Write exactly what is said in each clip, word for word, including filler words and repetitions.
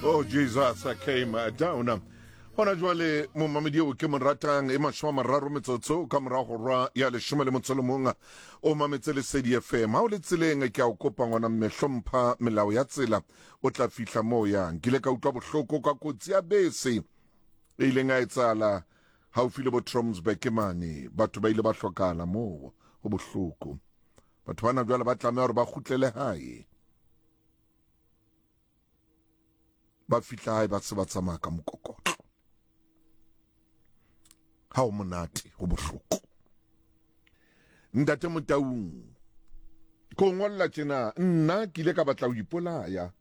Oh Jesus, I came down. Hona jwale momamedi eo ke mo ratang e mashome a mararo metsotso ka mora hora ya leshome le motso le mong o mametse Lesedi F M. Ha o le tseleng ke a o kopa ngwana mme, hlompha melao ya tsela, o tla fihla moo yang. Ke ile ka utlwa bohloko ka kotsi ya bese e ileng ya etsahala haufi le bo Trompsburg mane. Batho ba ile ba hlokahala moo, ho bohloko. Batho bana jwale ba tlameha hore ba kgutlele hae. Ba fihla hae ba se ba tsamaya ka mokokotlo. Ha o monate, ho bohloko. Ntate Motaung, ko ngolla tjena, nna ke ile ka batla ho ipolaya.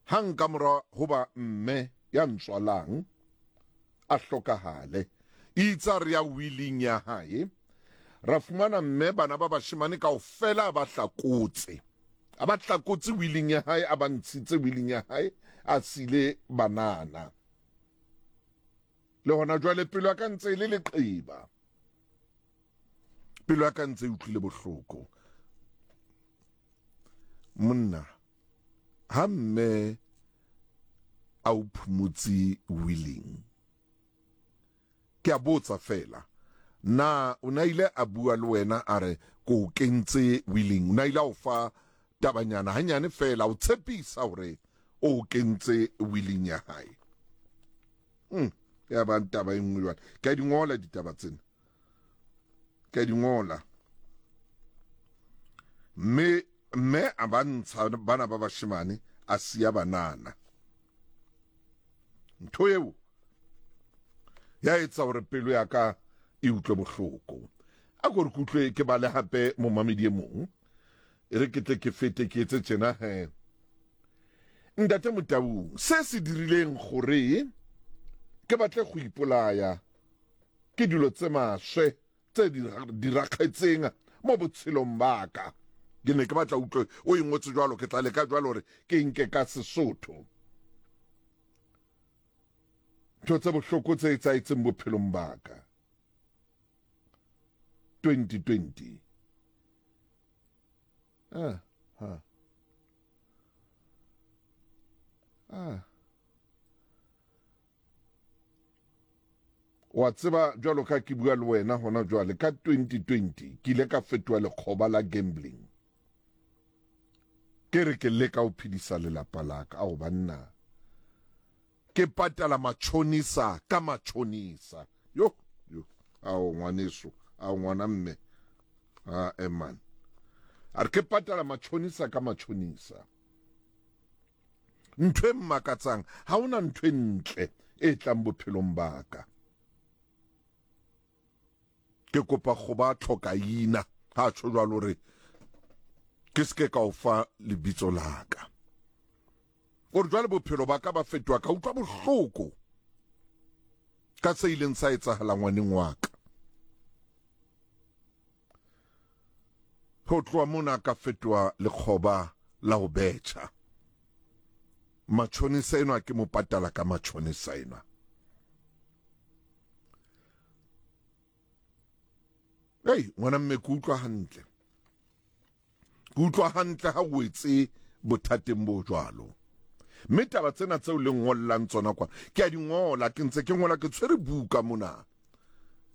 Hang ka mora hoba mme ya ntswalang a hlokahale. Itse re ya willing ya hae, ra fumana mme bana ba bashemane kaofela ba hlakotse. A ba hlakotse willing ya hae, a ba ntshitse willing ya hae, a sile banana. Le hona jwale pelo ya ka ntse e le leqeba. Pelo ya ka ntse e utlwile bohloko. Monna, ha mme a o phumutse willing, ke a botsa fela, na o na ile a bua le wena a re ko o kentse willing? O na ile a o fa tabanyana hanyane fela, o tshepisa hore o kentse willing ya hae? Hmm, ya ba taba e nngwe jwale. Ke a di ngola ditaba tsena, ke a di ngola. Mme mme a ba ntsha bana ba bashemane, a siya banana. Ntho eo ya etsa hore pelo ya ka e utlwe bohloko. A ko re ke utlwe ke bale hape momamedi e mong. E re ke tle ke fete ke etse tjena he. Ntate Motaung, se se dirileng gore ke batle go ipolaya ke dilo tse maswe tse di diragetseng mo botshelong ba ka. Ke ne ke batla utlwe o e ngotse jwalo, ke tla leka jwalo hore ke nke ka Sesotho. Ntho tse bohloko tse etsahetseng bophelong ba ka. twenty twenty. Ah, ha. Ah. Wa tseba jwalo ka ke bua le wena hona jwale ka twenty twenty ke ile ka fetoha lekgoba la gambling. Ke re ke leka ho phedisa lelapa la ka. Ao banna, ke patala matjhonisa ka matjhonisa. Yo, yo, ao ngwaneso, ao ngwana mme. Ah, eh man. A re ke patala matjhonisa ka matjhonisa. Ntho e mmakatsang, ha hona ntho e ntle e tlang bophelong ba ka. Ke kopa go ba tlhokaina, ha tjho jwalo hore ke se ke ka o fa lebitso la ka. O re jwale bophelo ba ka ba fetoha, ka utlwa bohloko ka se ileng sa etsahala ngwaneng wa ka. Ho tloha mona ka fetoha lekgoba la ho betjha. Matjhonisa enwa ke mo patala ka matjhonisa enwa. Ei, ngwana mme, ke utlwa hantle. Ke utlwa hantle ha o etse bothateng bo jwalo. Mme taba tsena tseo le ngollang tsona kwa, ke a di ngola, ke ntse ke ngola, ke tshwere buka mona.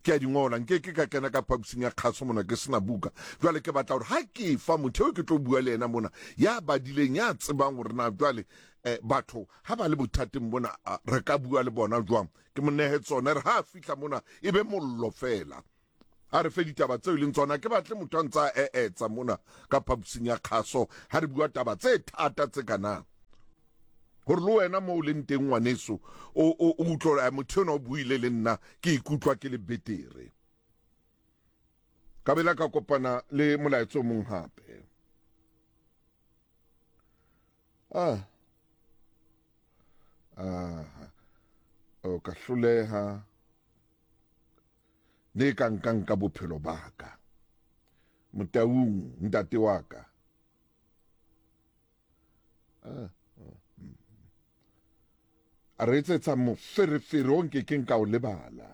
Ke a di ngola, nke ke ka kena ka phaposing ya kgaso mona ke sena buka. Jwale ke batla hore ha ke fa motho eo ke tlo bua le yena mona, ya badileng, ya tsebang hore na jwale, eh, batho ha ba le bothateng bona, re ka bua le bona jwang. Ke mo nehe tsona, re ha a fihla mona e be mollo fela. A re fe ditaba tseo e leng tsona, ke batle motho a ntsa a etsa mona ka phaposing ya kgaso ha re bua taba tse thata tse kana. Hore le wena moo o leng teng ngwaneso, o, o, o utlwe hore, motho enwa o buile le nna, ke ikutlwa ke le betere. Ka bela ka kopana le molaetsa o mong hape. Ah. Ah. O ka hloleha. Ne ka nkang ka bophelo ba ka. Motaung, ntate wa ka. Ah. A re etsetsa moferefere o nkekeng ka o lebala.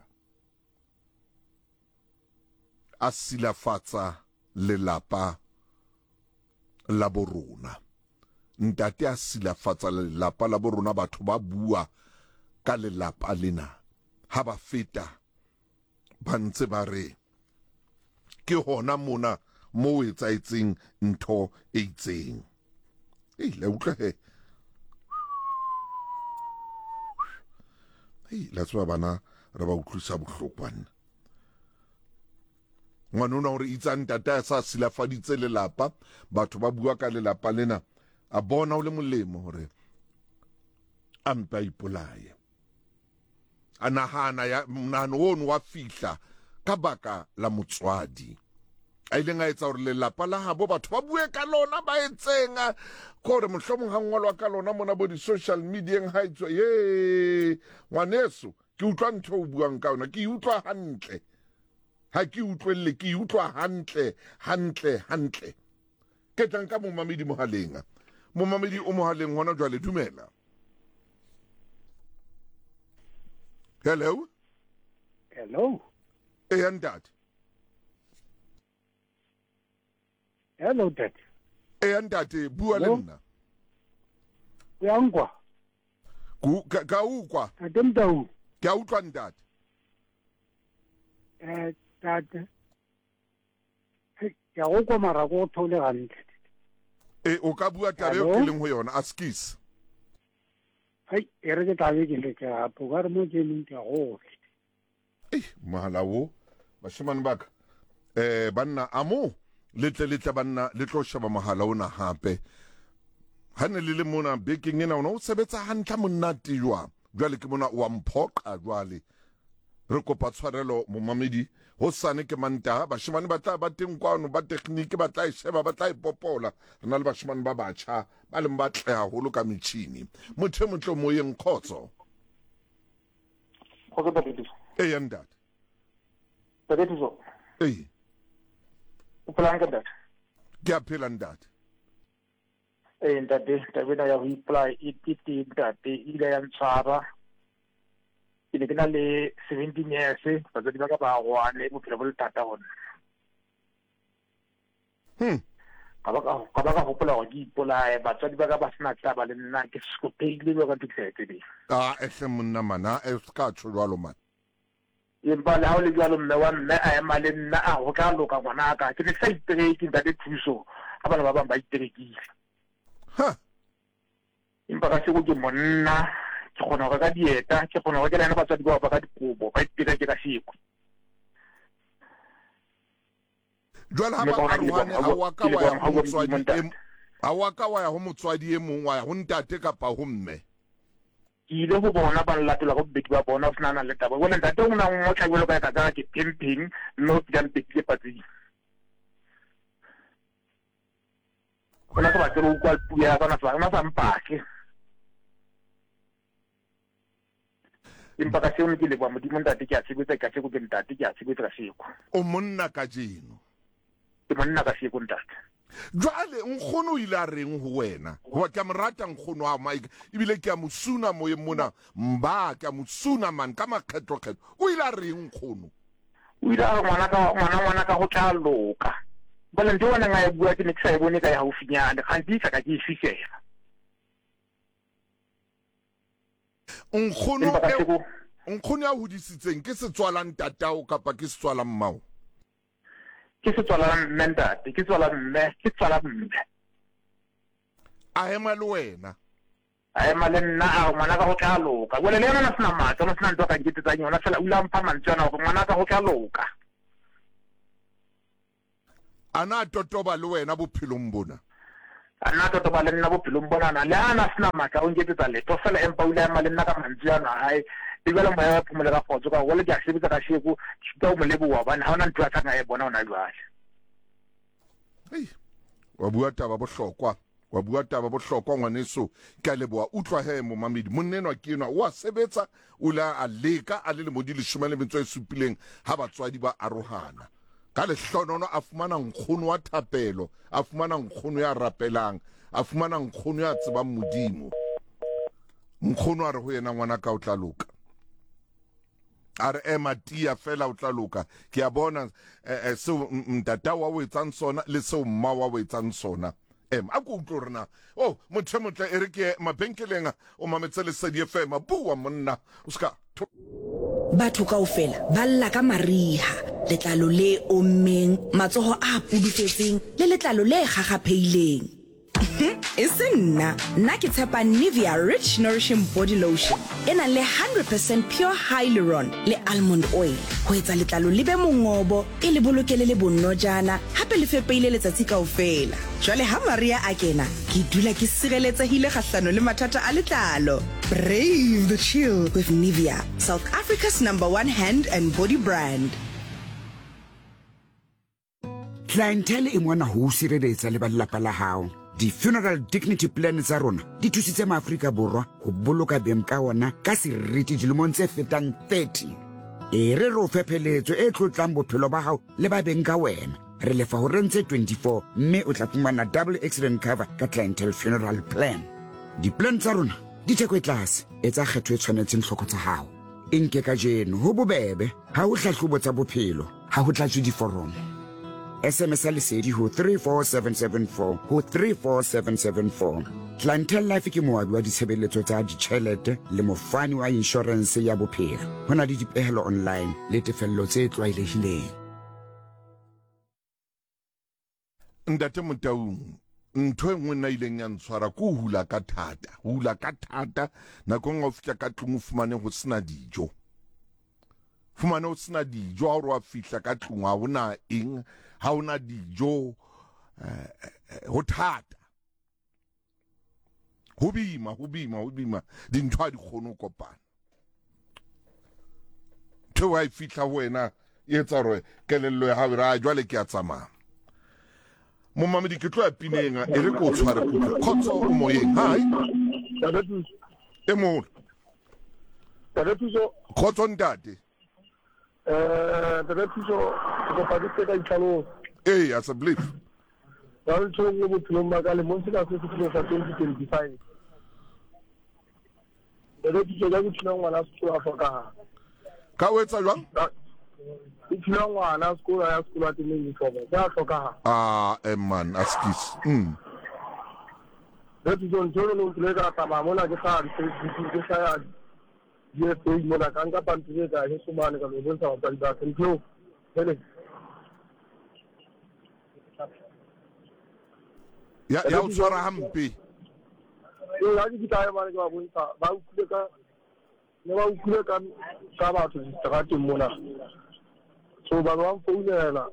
A silafatsa lelapa la borona. Ntate a silafatsa lelapa la bo rona, batho ba bua ka lelapa lena ha ba feta ba ntse ba re ke hona mona mo etsahetseng ntho e itseng. Ei, la utlwa he. Ei, la tseba bana re ba utlwisa bohloko banna. Ngwana ona hore itsa ntate a sa silafaditse lelapa, batho ba bua ka lelapa lena, a bona ho le molemo hore a mpe a ipolaye. A nahana ya monahano ono wa fihla ka baka la motswadi a ileng a etsa hore lelapa la habo batho ba bue ka lona, ba etseng kore mohlomong ha ngolwa ka lona mona bo di-social medieng ha etswa. Ye ngwaneso, ke utlwa ntho o buang ka yona, ke e utlwa hantle, ha ke utlwelle, ke e utlwa hantle hantle hantle. Ke tla nka momamedi mohaleng. Momamedi o mohaleng hona jwale, dumela. Hello. Hello. Eya ntate. Hello ntate. Eya ntate, bua le nna. O ya nkwa? Ka ka ukwa. Ntate Mtau. Ke a utlwa ntate. Eh ntate. Ke a go kwa mara go thole hantle. E o ka bua taba eo ke leng ho yona, askis. Hai, e re ke tla be ke le ke gape, o ka re mo ke leng ke a go. Eh, mohala wo, bashemane ba ka. Eh banna amo le tle le tle banna le tlo sheba mohala ona hape. Ha ne le le mona bekeng ena ona o sebetsa hantle monate jwang. Jwale ke mona o a mphoqa jwale. Re kopa tshwarelo momamedi, hosane ke Mantaha, bashemane ba tla ba teng kwano ba tekhniki ba tla e sheba, ba tla e popola. Re na le bashemane ba batjha ba leng batle haholo ka metjhini. Motho e motle moyeng, kgotso. Kgotso ntate Thuso. Eya ntate. Ntate Thuso. Ee. O phela hantle ntate? Ke a phela ntate. Ee ntate, taba ena ya ho ipolaya e teng ntate, e ile ya ntshwara. Ke ne ke na le seventeen years, batswadi ba ka ba arohane, bophelo bo le thata ho nna. Hmm. Ka ba ka ka ba ka hopola hore ke ipolaye, batswadi ba ka ba sena taba le nna, ke skopeile jwalo ka ntho ke sa e tsebeng. Ah, ehle monna mana, e ska tjho jwalo man. Empa le ha o le jwalo, mme wa mme a ema le nna, a ho tla loka ngwanaka. Ke ne ke sa itereke ntate Thuso, ha bana ba bang ba iterekile. Ha. Empa ka seko ke monna, ke kgona ho reka dieta, ke kgona ho rekela yena batswadi bao ba ka dikobo, ba itereke ka seko. Jwale ha Mme ba ka hona ke arohane, leboha ha wa ka ke wa ya leboha ho Modimo motswadi ntate. e ha wa ka wa ya ho motswadi e mong, wa ya ho ntate kapa ho mme. Ke ile ho bona ba nlatola ka bobedi ba bona, ho sena nang le taba. Jwale ntate o na ngotla jwalo ka e ka tsaya ke phempheng, mme o kile a mpetile patsing. O na sa batle ho utlwa puo ya ka, o na sa o na sa mpatle. Empa ka seo ke leboha Modimo ntate, ke a sebetsa ka seko, ke ntate, ke a sebetsa ka seko. O monna kajeno. Ke monna ka seko ntate. Jwale nkgono o ile a reng ho wena? Hoba ke a mo rata nkgono wa Mike, ebile ke a mo suna moyeng mona, mba ke a mo suna man ka makgetlo-kgetlo. O ile a reng nkgono? O ile a re ngwana ka ngwana ngwana ka ho tla loka. Jwale ntho eo a neng a e bua ke ne ke sa e bone ka e haufinyane, kgante e sa ka ke e fihlela. Nkgono Empa ka eo seko nkgono ya hodisitseng ke setswala ntatao kapa ke setswala mmao? Ke setswala mme ntate, ke tswala mme, ke tswala mme. A ema le wena? A ema le nna, a re ngwana ka ho tla loka. Jwale le yena o na sena matla, o na sena ntho a ka nketsetsang yona, feela o ile a mpha mantswe ana hore ngwana ka ho tla loka. A na totoba le wena bophelong bona? A nna totoba le nna bophelong bona na, le ha na sena matla o nketsetsa letho feela, empa o ile a ema le nna ka mantswe ana a hae. Le jwale moya wa phomolo ka kgotso, ka hore jwale ke a sebetsa ka seko, ke sitwa ho mo leboha hobane ha hona ntho a tlang a e bona hona jwale. Hei, wa bua taba bohlokwa, wa bua taba bohlokwa ngwaneso, ke a leboha. Utlwa he momamedi, monna enwa ke enwa o a sebetsa, o ile a leka a le lemo di leshome le metso e supileng ha batswadi ba arohana. Ka lehlonono a fumana nkgono wa thapelo, a fumana nkgono ya rapelang, a fumana nkgono ya tsebang Modimo. Nkgono a re ho yena, ngwana ka o tla loka. A re ema tia fela o tla loka. Ke a bona eh, eh, seo ntata wa o etsang sona le seo mma wa o etsang sona. M a ko utlwe rena oh motho motle e re ke mabenkeleng o mametse Lesedi F M bua monna o ska. Batho kaofela ba lla ka mariha, letlalo le ommeng, matsoho a pudufetseng le letlalo le kgakgaphehileng. E se nna, nna ke tshepa Nivea Rich Nourishing Body Lotion e nang le one hundred percent pure hyaluron le almond oil ho etsa letlalo le be mongobo, e le bolokele le bonojana, hape le fepeile letsatsi kaofela. Jwale ha Maria a kena, ke dula ke sireletsehile kgahlano le mathata a letlalo. Brave the chill with Nivea, South Africa's number one hand and body brand. Clientele e mona ho sireletsa le ba lelapa la hao. Di-funeral dignity plan tsa rona di thusitse maAfrika Borwa ho boloka beng ka ona ka seriti dilemong tse fetang thirty. E re re o fe pheletso e tlotlang bophelo ba hao le ba beng ka wena. Re lefa ho rentse twenty-four mme o tla fumana double accident cover ka Clientele Funeral Plan. Di-plan tsa rona di theko e tlase, etsa kgetho e tshwanetseng tlhoko tsa hao. E nke kajeno ho bobebe, ha ho hlahlobo tsa bophelo, ha ho tlatswe diforomo. S M S Lesedi ho three four seven seven four ho three four seven seven four. Clientele Life ke moabi wa ditshebeletso tsa ditjhelete le mofani wa insurance ya bophelo. Ho na le dipehelo online le tefello tse tlwaelehileng. Ntate Motaung, ntho e nngwe nna ileng ya ntshwara ke ho hula ka thata, ho hula ka thata nakong ha o fihla ka tlung o fumane ho sena dijo. Fumane ho sena dijo, ha o re wa fihla ka tlung ha hona eng, ha hona dijo, ho thata. Ho boima, ho boima, ho boima, dintho ha di kgone ho kopana. Ntho ha e fihla ho wena e etsa hore kelello ya hao e re, a jwale ke a tsamaya. Momamedi ke tlo ya pineng e re ko tshware kutlwe. Khotso o moyeng. Hi. E moholo. Khotso ntate. Eh, ntate Thuso, ke kopa ke ka itlhalosa. Eh, as a belief. Ba re tshwere mo bophelong ba ka lemong sena se se sa twenty twenty-five. Ntate Thuso, ka ke thula ngwana sekolo a hlokahala. Ka o etsa jwang? Ke thula ngwana sekolo ya sekolo a teng uniform, ka hlokahala. Ah, eh man, askis. Mm. Ntate Thuso, ntho eno ke ile ka tsamaya mona ke hlaha di-Facebook, ke hlaha D F A mona, ka nka pampiri ka heso mane ka lo bontsha batswadi ba ka. Ntho hele. Ya ya o tshwara hampe. Ee, ha ke fihla hae mane ke ba bontsha, ba utlwile ka ne ba utlwile ka ka batho diterateng mona. So ba ba mfounela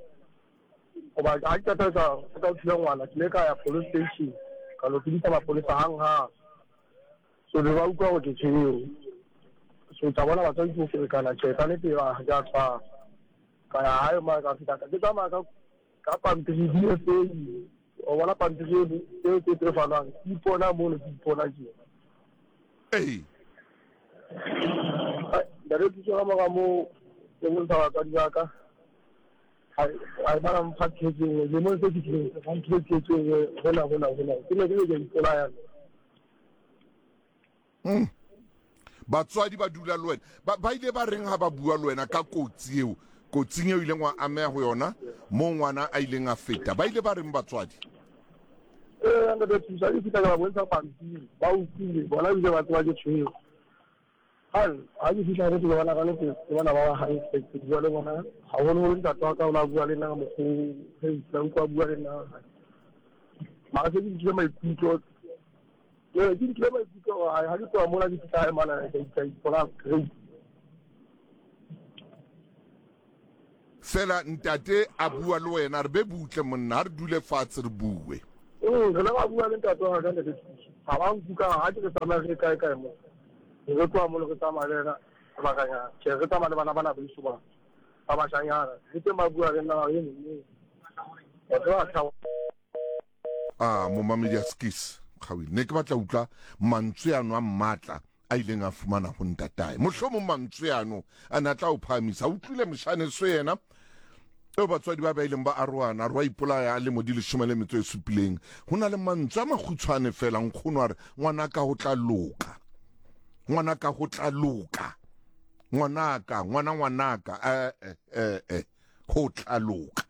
hoba ha ke qeta ka ka thula ngwana, ke ile ka ya police station ka lo tsebisa mapolesa hang-hang. So be ba utlwa hore ke tshwere. So tsa bona batswadi ke ferekana, tjhe ka nnete ha ke a tshwara. Ka ya hae mane ka fihla ka ke tsamaya ka ka pampiri D F A. O bona pampiri eo tse tse fanwang, ke ipona mono, ke ipona tje. Ee. Ntate Thuso, ka mora moo ke bontsha batswadi ba ka, ha ba mpha tjhelete e nngwe, lemong se fetileng ba mphile tjhelete e nngwe hona hona hona. Ke ne ke le ke ipolaya. Mm. Batswadi ba dula le wena, ba ba ile ba reng ha ba bua le wena ka kotsi eo, kotsing eo ileng wa ameha ho yona mo ngwana a ileng a feta, ba ile ba reng batswadi? Eh, ntate Thuso, ke fihla ka ba bontsha pampiri, ba utlwile bona ebile ba tseba ke tshwere. Ha ha ke fihla ke bona ka nnete, ke bona ba ba hantle, ke bua le bona haholoholo. Ntate wa ka o la bua le nna ka mokgwa oo, hei, ke utlwa a bua le nna. Mara se ke nkile maikutlo, ee, ke nkile maikutlo hore ha ke tloha mona ke fihla hae mane, ke a ipona great. Fela ntate a bua le wena, re be butle monna, ha re dule fatshe re bue. Mm, re le ba bua le ntate wa ka ntate Thuso. Ha ba nkuka, ha ke re tsamaya re kae kae mo. Re tloha mona re tsamaya le yena sebakanyana. Tjhe, re tsamaya le bana bana beso ba ba bashanyana. Le teng ba bua le nna e mong. Batho ba tla Ah, momamedi a skis. Kgawile. Ne ke batla utlwa mantswe ano a matla a ileng a fumana ho ntatae. Mohlomong mantswe ano a na tla o phahamisa. Utlwile moshane so yena eo batswadi ba ba ileng ba arohana, re wa ipolaya a lemo di leshome le metso e supileng. Ho na le mantswe a makgutshwane fela, nkgono a re ngwanaka ho tla loka, ngwanaka ho tla loka, ngwanaka, ngwana ngwanaka, eh eh eh ho tla loka.